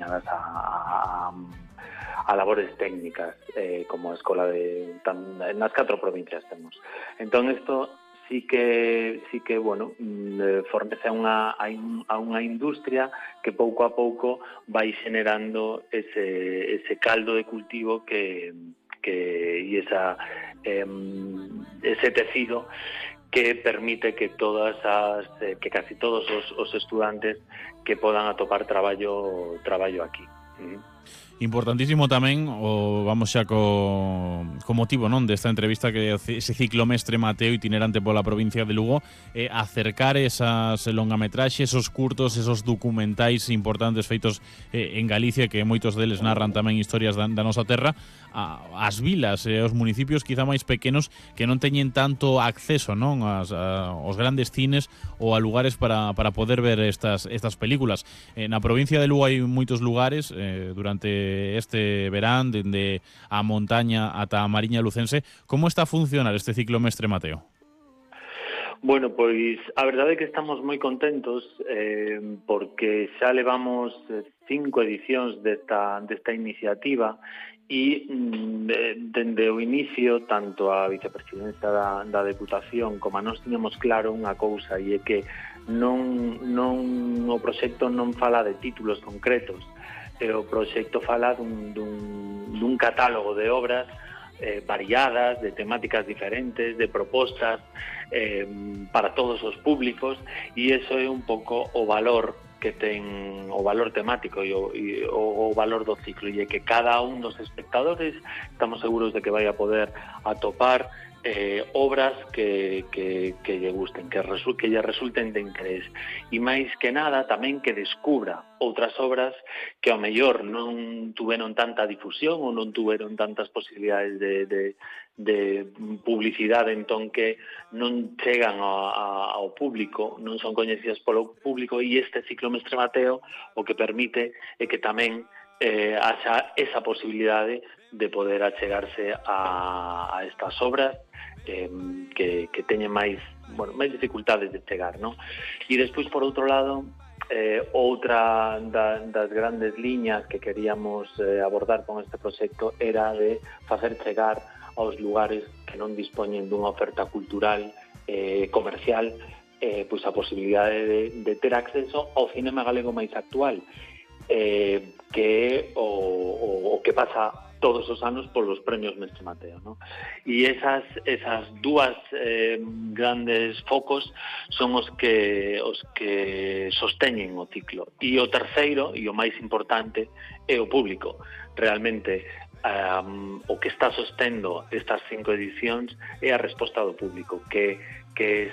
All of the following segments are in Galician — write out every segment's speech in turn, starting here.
destinadas a labores técnicas, como a escola nas 4 provincias temos. Entón, isto sí que bueno, fornece a unha industria que pouco a pouco vai generando ese caldo de cultivo e ese tecido que permite que casi todos os estudantes que podan atopar traballo aquí. Importantísimo tamén vamos xa co motivo, non, desta entrevista, que ese ciclomestre Mateo itinerante pola provincia de Lugo, acercar esas longametraxes, esos curtos, esos documentais importantes feitos en Galicia, que moitos deles narran tamén historias da nosa terra, as vilas e os municipios quizá máis pequenos que non teñen tanto acceso, non, aos grandes cines ou a lugares para poder ver estas películas. Na provincia de Lugo hai moitos lugares durante este verán, dende a montaña ata a Mariña Lucense. Como está a funcionar este ciclomestre Mateo? Bueno, pois a verdade é que estamos moi contentos porque xa levamos 5 edicións desta iniciativa e dende o inicio tanto a vicepresidencia da Deputación como a nós tiñamos claro unha cousa, e é que o proxecto non fala de títulos concretos, o proxecto fala dun catálogo de obras variadas, de temáticas diferentes, de propostas para todos os públicos, e iso é un pouco o valor que ten, o valor temático e o valor do ciclo, e é que cada un dos espectadores estamos seguros de que vai a poder atopar obras que lle gusten, que lle resulten de interés, e máis que nada tamén que descubra outras obras que ao mellor non tuveron tanta difusión ou non tuveron tantas posibilidades de publicidade, entón que non chegan ao público, non son coñecidas polo público, e este ciclomestre Mateo o que permite é que tamén haxa esa posibilidade de poder achegarse a estas obras que teñen máis dificultades de chegar, non? E despois, por outro lado, outra das grandes liñas que queríamos abordar con este proxecto era de facer chegar aos lugares que non dispoñen dunha oferta cultural comercial pois a posibilidade de ter acceso ao cinema galego máis actual, que é o que pasa todos os anos polos premios Mestre Mateo, ¿no? E esas dúas grandes focos son os que sosteñen o ciclo. E o terceiro, e o máis importante, é o público. Realmente, o que está sostendo estas 5 edicións é a resposta do público, que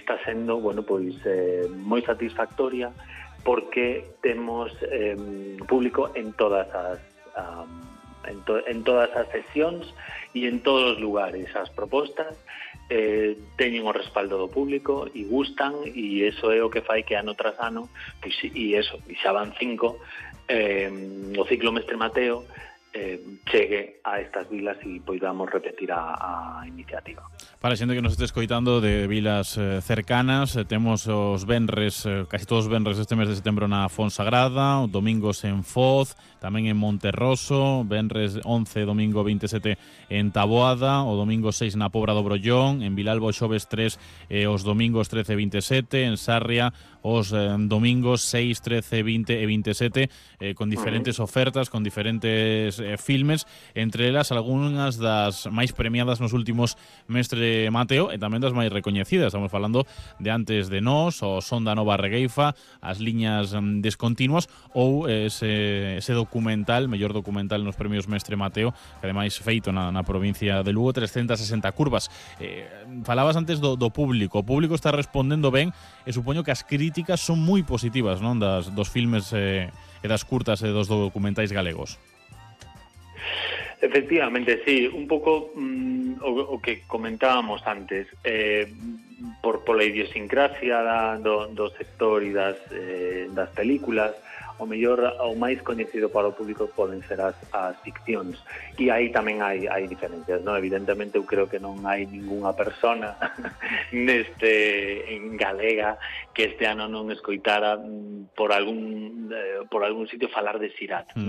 está sendo, moi satisfactoria, porque temos público en todas as sesións e en todos os lugares. As propostas teñen o respaldo do público e gustan, e iso é o que fai que ano tras ano, e xa van 5, o ciclomestre Mateo chegue a estas vilas e poidamos repetir a iniciativa. Para a xente que nos este escoitando de vilas cercanas, temos os venres, casi todos os venres deste mes de setembro na Fonsagrada, os domingos en Foz, tamén en Monterroso, venres 11, domingo 27 en Taboada, o domingo 6 na Pobra do Brollón, en Vilalba xoves 3 os domingos 13 e 27, en Sarria os domingos 6, 13, 20 e 27, con diferentes ofertas, con diferentes filmes, entre elas algunhas das máis premiadas nos últimos Mestre Mateo e tamén das máis recoñecidas. Estamos falando de Antes de Nós, o Son da Nova Regueifa, as liñas descontinuas, ou ese documental, mellor documental nos premios Mestre Mateo, que ademais feito na provincia de Lugo, 360 curvas. Falabas antes do público. O público está respondendo ben e supoño que as críticas son moi positivas, non, dos filmes e das curtas e dos documentais galegos. Efectivamente, sí, un pouco o que comentábamos antes, pola idiosincrasia do sector e das películas, o mellor, o máis coñecido para o público poden ser as ficcións, e aí tamén hai diferencias, non? Evidentemente eu creo que non hai ningunha persona en galega que este ano non escoitara por algún sitio falar de Sirat, non?